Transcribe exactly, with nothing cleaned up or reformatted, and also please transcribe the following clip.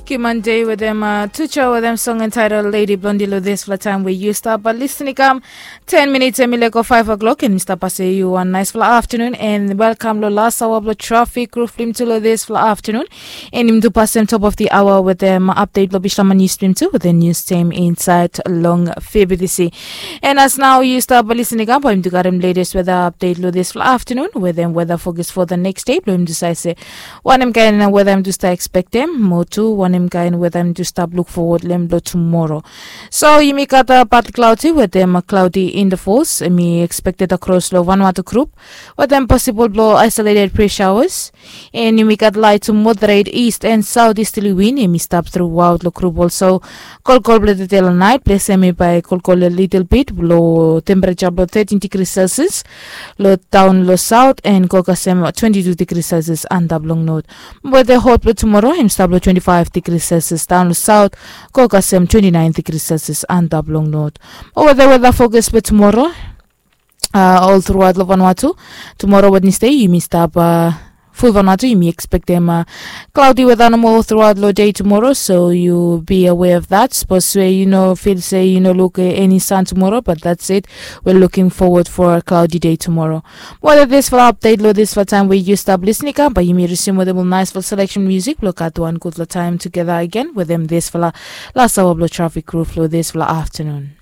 Kimande wetem uh, Tucho wetem song entitled Lady Blondie lo dispela taim we yu stap uh, listening kam. Ten minutes em i leko five o'clock and Mister Pase, you one nice fla afternoon and welcome lo last hour blo traffic roof lim tu lo this fla afternoon. And im tu pasem top of the hour wetem update lo Bishlaman news team tu with the news team inside long febidisi. And as now you start listening up, I'm to got him latest weather update lo this fla afternoon with them weather focus for the next day. Blo im tu sai se wanem kain weather im tu start expect them mo tu wanem kain weather im tu start look forward lem lo tomorrow. So yumi gat a partly cloudy with them cloudy in the force mi expected across lo Vanuatu group with them possible blo isolated pressure showers. And yumi gat light to moderate east and southeasterly wind yumi stap throughout lo group also. Kolkol blo the day lo night place yumi by kolkol a little bit blo temperature blo thirteen degrees Celsius lo town lo south and kokasem twenty-two degrees Celsius antap long north. Weather hot blo tomorrow im stap lo twenty-five degrees Celsius town lo south, kokasem twenty-nine degrees Celsius antap long north. Weather weather focus blo tomorrow uh, all throughout lo Vanuatu. Tomorrow Wednesday yumi stap uh, full Vanuatu yumi expect them uh, cloudy weather nomo all throughout lo day tomorrow, so you be aware of that. Suppose say you know feel say you know look uh, any sun tomorrow, but that's it. We're looking forward for a cloudy day tomorrow. Well, this for update lo this for time where you stop listening up, but you may resume with a nice for selection music. Look at one good time together again with them this for last hour blo traffic roof lo this for afternoon.